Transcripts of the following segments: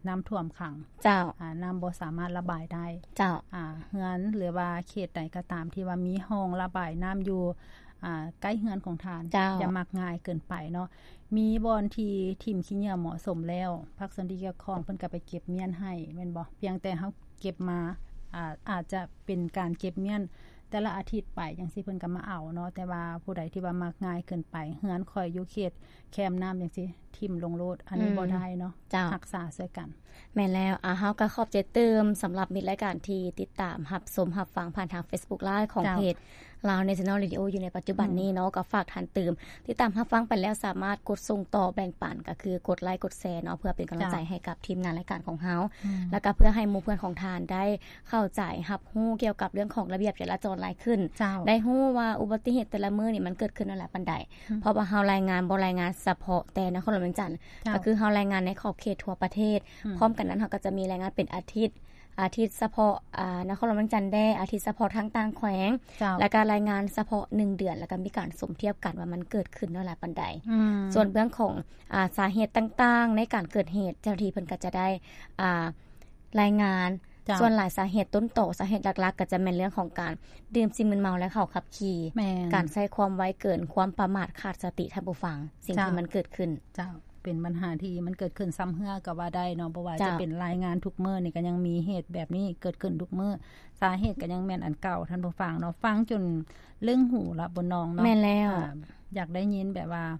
ນ້ຳຖ້ວມຂັງ ເຈົ້າ ອາ ນ້ຳບໍ່ສາມາດລະບາຍໄດ້ ເຈົ້າ ອາ ເຮືອນ ຫຼືວ່າເຂດໃດກໍຕາມທີ່ວ່າມີຮ່ອງລະບາຍນ້ຳຢູ່ ອາ ໃກ້ເຮືອນຂອງທ່ານ ເຈົ້າ ຢ່າມັກງ່າຍເກີນໄປເນາະ ມີບ່ອນທີ່ຖິ້ມຂີ້ເຫຍື້ອເໝາະສົມແລ້ວ ພາກສ່ວນທີ່ກ່ຽວຂ້ອງເພິ່ນກໍໄປເກັບມ້ຽນໃຫ້ແມ່ນບໍ່? ພຽງແຕ່ເຮົາເກັບມາ ອາ ອາດຈະເປັນການເກັບມ້ຽນແຕ່ລະອາທິດໄປຈັ່ງຊີ້ ເພິ່ນກໍມາເອົາເນາະ ແຕ່ວ່າຜູ້ໃດທີ່ວ່າມັກງ່າຍເກີນໄປ ເຮືອນຂ້ອຍຢູ່ເຂດແຄມນ້ຳຈັ່ງຊີ້ ຖິ້ມລົງໂລດ ອັນນີ້ ອືມ ບໍ່ໄດ້ເນາະ ເຈົ້າ ຮັກສາຊ່ວຍກັນ. ແມ່ນແລ້ວ ອາ ເຮົາກໍຂອບໃຈຕື່ມສຳລັບມິດລາຍການທີ່ຕິດຕາມຮັບຊົມຮັບຟັງຜ່ານທາງ Facebook Live ຂອງ ເຈົ້າ ເພຈ Lao National Radio ຢູ່ໃນປັດຈຸບັນນີ້ເນາະ ອືມ ກໍຝາກທ່ານຕື່ມຕິດຕາມຮັບຟັງໄປແລ້ວ ສາມາດກົດສົ່ງຕໍ່ແບ່ງປັນ ກໍຄືກົດໄລກົດແຊເນາະ ເພື່ອເປັນກຳລັງໃຈ ເຈົ້າ ໃຫ້ກັບທີມງານລາຍການຂອງເຮົາ ອືມ ແລ້ວກໍເພື່ອໃຫ້ໝູ່ເພື່ອນຂອງທ່ານໄດ້ເຂົ້າໃຈຮັບຮູ້ກ່ຽວກັບເລື່ອງຂອງລະບຽບຈະລາຈອນຫຼາຍຂຶ້ນ ເຈົ້າ ໄດ້ຮູ້ວ່າອຸບັດຕິເຫດແຕ່ລະມື້ນີ້ມັນເກີດຂຶ້ນຫຼາຍປານໃດ ອືມ ເພາະວ່າເຮົາລາຍງານບໍ່ລາຍງານສະເພາະແຕ່ນະຄອນຫຼວງວຽງຈັນ ເຈົ້າ ກໍຄືເຮົາລາຍງານໃນຂອບເຂດທົ່ວປະເທດ ອືມ ພ້ອມກັນນັ້ນເຮົາກໍຈະມີລາຍງານເປັນອາທິດ ອາທິດສະເພາະ ອາ ນະຄອນຫຼວງວຽງຈັນແດ່ ອາທິດສະເພາະທາງຕ່າງແຂວງ ເຈົ້າ ແລ້ວກໍລາຍງານສະເພາະໜຶ່ງເດືອນ ແລ້ວກໍມີການສົມທຽບກັນວ່າມັນເກີດຂຶ້ນເທົ່າຫຼາຍປານໃດ ອືມ ສ່ວນເລື່ອງຂອງ ອາ ສາເຫດຕ່າງໆໃນການເກີດເຫດ ເຈົ້າໜ້າທີ່ເພິ່ນກໍຈະໄດ້ ອາ ລາຍງານ ເຈົ້າ ສ່ວນຫຼາຍສາເຫດຕົ້ນຕໍ ສາເຫດຫຼັກໆກໍຈະແມ່ນເລື່ອງຂອງການດື່ມສິ່ງມຶນເມົາ ແລະ ເຂົາຂັບຂີ່ ແມ່ນ ການໃຊ້ຄວາມໄວເກີນ ຄວາມປະໝາດຂາດສະຕິ ທ່ານຜູ້ຟັງ ສິ່ງ ເຈົ້າ ທີ່ມັນເກີດຂຶ້ນ ເຈົ້າ ເປັນບັນຫາທີ່ມັນເກີດຂຶ້ນຊ້ຳເຮື້ອກໍວ່າໄດ້ເນາະ ບໍ່ວ່າ ເຈົ້າ ຈະເປັນລາຍງານທຸກມື້ນີ້ ກໍຍັງມີເຫດແບບນີ້ເກີດຂຶ້ນທຸກມື້ ສາເຫດກໍຍັງແມ່ນອັນເກົ່າ ທ່ານຜູ້ຟັງເນາະ ຟັງຈົນລຶ້ງຫູລະ ບຸນນອງເນາະ ແມ່ນແລ້ວ ອາ ຢາກໄດ້ຍິນແບບວ່າ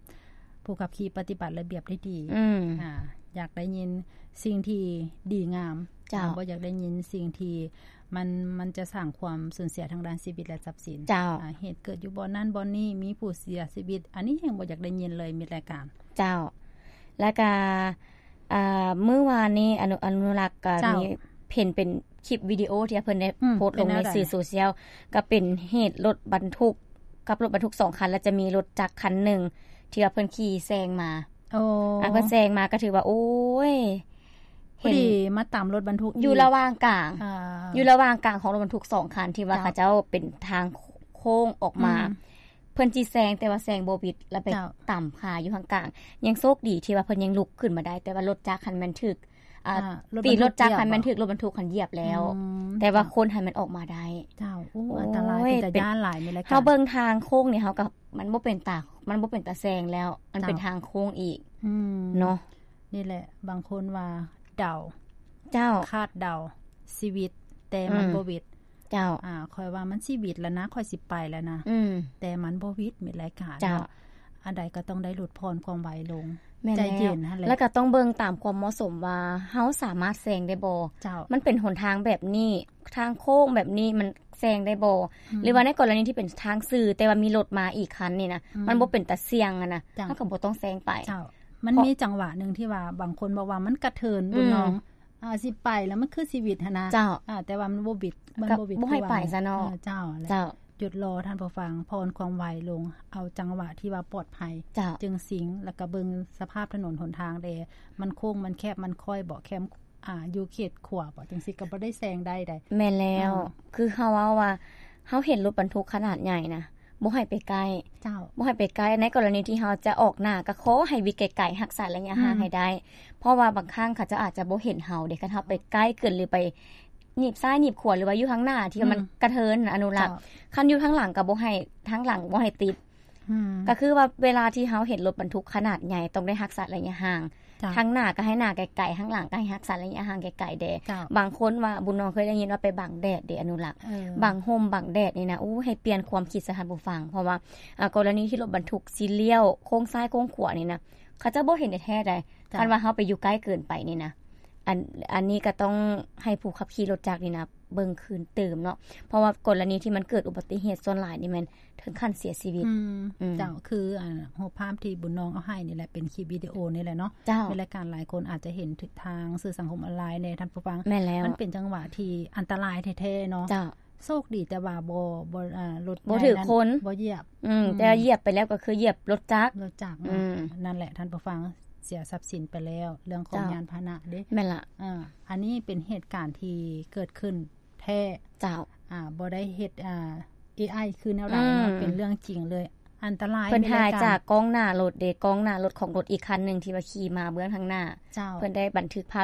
ຜູ້ຂັບຂີ່ປະຕິບັດລະບຽບໄດ້ດີ ອືມ ອາ ຢາກໄດ້ຍິນສິ່ງທີ່ດີງາມ ເຈົ້າ ອາ ບໍ່ຢາກໄດ້ຍິນສິ່ງທີ່ມັນ ມັນຈະສ້າງຄວາມສູນເສຍທາງດ້ານຊີວິດ ແລະ ຊັບສິນ ເຈົ້າ ອາ ເຫດເກີດຢູ່ບ່ອນນັ້ນບ່ອນນີ້ ມີຜູ້ເສຍຊີວິດ ອັນນີ້ແຮ່ງບໍ່ຢາກໄດ້ຍິນເລີຍ ມິດລາຍການ ເຈົ້າ ແລ້ວກະ ອາ ມື້ວານນີ້ ອະນຸ ອະນຸລັກ ກໍ ເຈົ້າ ມີເຫັນເປັນຄລິບວິດີໂອທີ່ເພິ່ນໄດ້ ອືມ ໂພສລົງໃນສື່ໂຊຊຽວ ເປັນແນວໃດ? ກໍເປັນເຫດລົດບັນທຸກກັບລົດບັນທຸກສອງຄັນ ແລ້ວຈະມີລົດຈັກຄັນໜຶ່ງທີ່ວ່າເພິ່ນຂີ່ແຊງມາ ໂອ້ ອາ ເພິ່ນແຊງມາກໍຖືວ່າ ໂອ້ຍ ພໍດີມາຕຳລົດບັນທຸກ ຢູ່ລະຫວ່າງກາງ ອາ ຢູ່ລະຫວ່າງກາງຂອງລົດບັນທຸກສອງຄັນ ທີ່ວ່າ ເຈົ້າ ເຂົາເຈົ້າເປັນທາງໂຄ້ງອອກມາ ອືມ ເພິ່ນຊິແຊງ ແຕ່ວ່າແຊງບໍ່ຫວິດ ແລ້ວໄປ ເຈົ້າ ຕຳຄາຢູ່ຂ້າງກາງ ຍັງໂຊກດີທີ່ວ່າເພິ່ນຍັງລຸກຂຶ້ນມາໄດ້ ແຕ່ວ່າລົດຈັກຫັ້ນແມ່ນຖືກ ອາ ອາ ຕີນລົດຈັກຫັ້ນແມ່ນຖືກລົດບັນທຸກຫັ້ນຢຽບແລ້ວ ອືມ ແຕ່ວ່າ ເຈົ້າ ຄົນຫັ້ນແມ່ນອອກມາໄດ້ ເຈົ້າ ໂອ້ ໂອ້ຍ ອັນຕະລາຍ ເປັນຕາຢ້ານຫຼາຍ ມີລາຍການ ເຮົາເບິ່ງທາງໂຄ້ງນີ້ ເຮົາກໍ ມັນບໍ່ເປັນຕາ ມັນບໍ່ເປັນຕາແຊງແລ້ວ ມັນເປັນ ເຈົ້າ ທາງໂຄ້ງອີກ ອືມ ເນາະ ນີ້ແຫຼະ ບາງຄົນວ່າເດົາ ເຈົ້າ ຄາດເດົາຊີວິດ ແຕ່ມັນ ອືມ ບໍ່ຫວິດ ເຈົ້າ ອາ ຂ້ອຍວ່າມັນຊິຫວິດແລ້ວນະ ຂ້ອຍຊິໄປແລ້ວນະ ອືມ ແຕ່ມັນບໍ່ຫວິດ ມິດລາຍການ ເຈົ້າ ເນາະ ອັນໃດກໍຕ້ອງໄດ້ຫຼຸດຜ່ອນຄວາມໄວລົງ ແມ່ນ ໃຈເຢັນຫັ້ນແຫຼະ ແລ້ວກໍຕ້ອງເບິ່ງຕາມຄວາມເໝາະສົມວ່າ ເຮົາສາມາດແຊງໄດ້ບໍ່ ເຈົ້າ ມັນເປັນຫົນທາງແບບນີ້ ທາງໂຄ້ງແບບນີ້ ມັນແຊງໄດ້ບໍ່ ອືມ ຫຼືວ່າໃນກໍລະນີທີ່ເປັນທາງຊື່ ແຕ່ວ່າມີລົດມາອີກຄັນນີ້ນະ ອືມ ມັນບໍ່ເປັນຕາສ່ຽງຫັ້ນນະ ເຈົ້າ ເຮົາກໍບໍ່ຕ້ອງແຊງໄປ ເຈົ້າ ມັນ ເພາະ ມີຈັງຫວະໜຶ່ງທີ່ວ່າບາງຄົນບອກວ່າມັນກະເທີນ ອືມ ບຸນນອງ ອາ ຊິໄປແລ້ວມັນຄືຊີວິດຫັ້ນນະ ເຈົ້າ ອາ ແຕ່ວ່າມັນບໍ່ຫວິດ ມັນບໍ່ຫວິດ ບໍ່ໃຫ້ໄປຊະເນາະ ເອີ ເຈົ້າ ເຈົ້າ ຢຸດລໍທ່ານຜູ້ຟັງ ຜ່ອນຄວາມໄວລົງ ເອົາຈັງຫວະທີ່ວ່າປອດໄພ ເຈົ້າ ຈຶ່ງສິງ ແລ້ວກໍເບິ່ງສະພາບຖະໜົນຫົນທາງແດ່ ມັນໂຄ້ງ ມັນແຄບ ມັນຄ້ອຍບໍ່ ແຄມ ອາ ຢູ່ເຂດຂົວບໍ່ ຈັ່ງຊີ້ກໍບໍ່ໄດ້ແຊງໄດ້ໃດ໋ ແມ່ນແລ້ວ ອືມ ຄືເຮົາເວົ້າວ່າ ເຮົາເຫັນລົດບັນທຸກຂະໜາດໃຫຍ່ນະ ບໍ່ໃຫ້ໄປໃກ້ ເຈົ້າ ບໍ່ໃຫ້ໄປໃກ້ ໃນກໍລະນີທີ່ເຮົາຈະອອກໜ້າ ກໍຂໍໃຫ້ຫວິດໄກໆ ຮັກສາໄລຍະຫ່າງ ອືມ ໃຫ້ໄດ້ ເພາະວ່າບາງຄັ້ງເຂົາເຈົ້າອາດຈະບໍ່ເຫັນເຮົາເດ້ ຄັນເຮົາໄປໃກ້ເກີນ ຫຼືໄປໜີບຊ້າຍໜີບຂວາ ຫຼືວ່າຢູ່ທາງໜ້າທີ່ ອືມ ມັນກະເທີນນະ ອະນຸລັກ ເຈົ້າ ຄັນຢູ່ທາງຫຼັງກໍບໍ່ໃຫ້ ທາງຫຼັງບໍ່ໃຫ້ຕິດ ອືມ ກໍຄືວ່າເວລາທີ່ເຮົາເຫັນລົດບັນທຸກຂະໜາດໃຫຍ່ ຕ້ອງໄດ້ຮັກສາໄລຍະຫ່າງ ເຈົ້າ ທາງໜ້າກໍໃຫ້ໜ້າໄກໆ ທາງຫຼັງກໍໃຫ້ຮັກສາໄລຍະຫ່າງໄກໆແດ່ ເຈົ້າ ບາງຄົນວ່າ ບຸນນອງເຄີຍໄດ້ຍິນວ່າໄປບັງແດດເດ ອະນຸລັກ ເອີ ບັງຮົ່ມບັງແດດນີ້ນະ ໂອ້ ໃຫ້ປ່ຽນຄວາມຄິດຊະທ່ານຜູ້ຟັງ ເພາະວ່າ ອາ ກໍລະນີທີ່ລົດບັນທຸກຊິລ້ຽວໂຄ້ງຊ້າຍໂຄ້ງຂວານີ້ນະ ເຂົາເຈົ້າບໍ່ເຫັນແທ້ໆໃດ໋ ເຈົ້າ ຄັນວ່າເຮົາໄປຢູ່ໃກ້ເກີນໄປນີ້ນະ ອັນ ອັນນີ້ກໍຕ້ອງໃຫ້ຜູ້ຂັບຂີ່ລົດຈັກນີ້ນະ ເບິ່ງຄືນຕື່ມເນາະ ເພາະວ່າກໍລະນີທີ່ມັນເກີດອຸບັດຕິເຫດສ່ວນຫຼາຍນີ້ແມ່ນເຖິງຂັ້ນເສຍຊີວິດ ອືມ ອືມ ເຈົ້າ ຄື ອາ ຮູບພາບທີ່ບຸນນອງເອົາໃຫ້ນີ້ແຫຼະ ເປັນຄລິບວິດີໂອນີ້ແຫຼະເນາະ ເຈົ້າ ມີລາຍການຫຼາຍຄົນອາດຈະເຫັນທາງສື່ສັງຄົມອອນລາຍແດ່ ທ່ານຜູ້ຟັງ ແມ່ນແລ້ວ ມັນເປັນຈັງຫວະທີ່ອັນຕະລາຍແທ້ໆເນາະ ເຈົ້າ ໂຊກດີແຕ່ວ່າບໍ່ ບໍ່ ອາ ລົດ ບໍ່ຖືກຄົນ ບໍ່ຢຽບ ອືມ ອືມ ແຕ່ຢຽບໄປແລ້ວກໍຄືຢຽບລົດຈັກ ລົດຈັກເນາະ ອືມ ນັ້ນແຫຼະທ່ານຜູ້ຟັງ ເສຍຊັບສິນໄປແລ້ວ ເລື່ອງຂອງ ເຈົ້າ ຍານພາຫະນະເດ້ ແມ່ນລະ ເອີ ອັນນີ້ເປັນເຫດການທີ່ເກີດຂຶ້ນແທ້ ເຈົ້າ ອາ ບໍ່ໄດ້ເຮັດ ອາ ເອໄອ ຄືແນວໃດເນາະ ອືມ ເປັນເລື່ອງຈິງເລີຍ ອັນຕະລາຍ ເພິ່ນຖ່າຍຈາກກ້ອງໜ້າລົດເດ້ ກ້ອງໜ້າລົດຂອງລົດອີກຄັນໜຶ່ງທີ່ວ່າຂີ່ມາເບື້ອງທາງໜ້າ ເຈົ້າ ເພິ່ນໄດ້ບັນທຶກພາບ